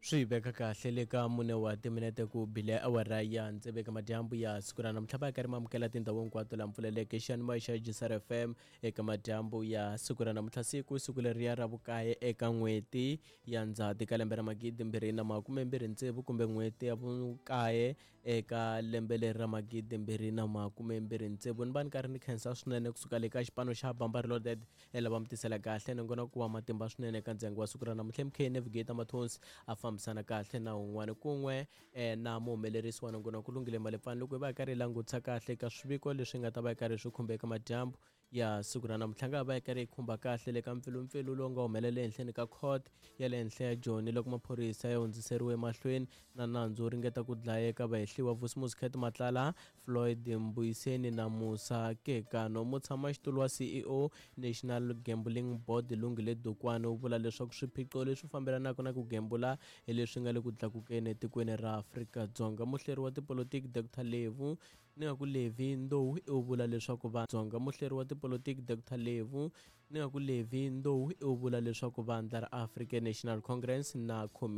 Swi veka kahle le ka mune wa timinete ku bile awara ya tsevu eka madyambu ya siku ra namuntlha. Va ya karhi ma amukela tindhawu hinkwato laha mpfuleleke xiyanimoya xa Jisar FM eka madyambu ya siku ra namuntlha, siku siku leriya ra vukaye eka n'hweti ya Ndzhati ka lembe ra 2026, kumbe n'hweti ya vukaye eka lembe leri ra 2026. Ni va ni karhi ni khensa swinene kusuka le ka xipano xa Bamba Reloaded lava mi tisela kahle nongonoko wa matimba swinene eka ndyangu wa siku ra namuntlha. MK Navigator Mathonsi a fambisana kahle na un'wana kun'we na muhumelerisi wa nongonoko Lungile Malepfani, loko hi va hi karhi hi langutisa kahle eka swiviko leswi nga ta va hi karhi swi khumba eka madyambu ya siku ra namuntlha. Nga va hi karhi hi khumba kahle le ka mpfilumpfilu lowu nga humelela ehenhleni ka court ya le henhla ya Joni loko maphorisa ya hundziseriwe emahlweni na nandzu wo ringeta ku dlaya eka vahehliwa Vusimuzi Cat Matlala, Floyd Mbuyiseni na Musa Kekano. Mutshamaxitulu wa CEO National Gambling Board Lungile Dukwane u vula leswaku swiphiqo leswi fambelanaka na ku gembula hi leswi nga le ku tlakukeni etikweni ra Afrika-Dzonga. Muhleri wa tipolotiki Dr Levu ni nga ku Levi Ndou u vula leswaku va Dzonga. Muhleri wa tipolotiki Dr Levu ni nga ku Levi Ndou u vula leswaku vandla ra African National Congress na Khomixini.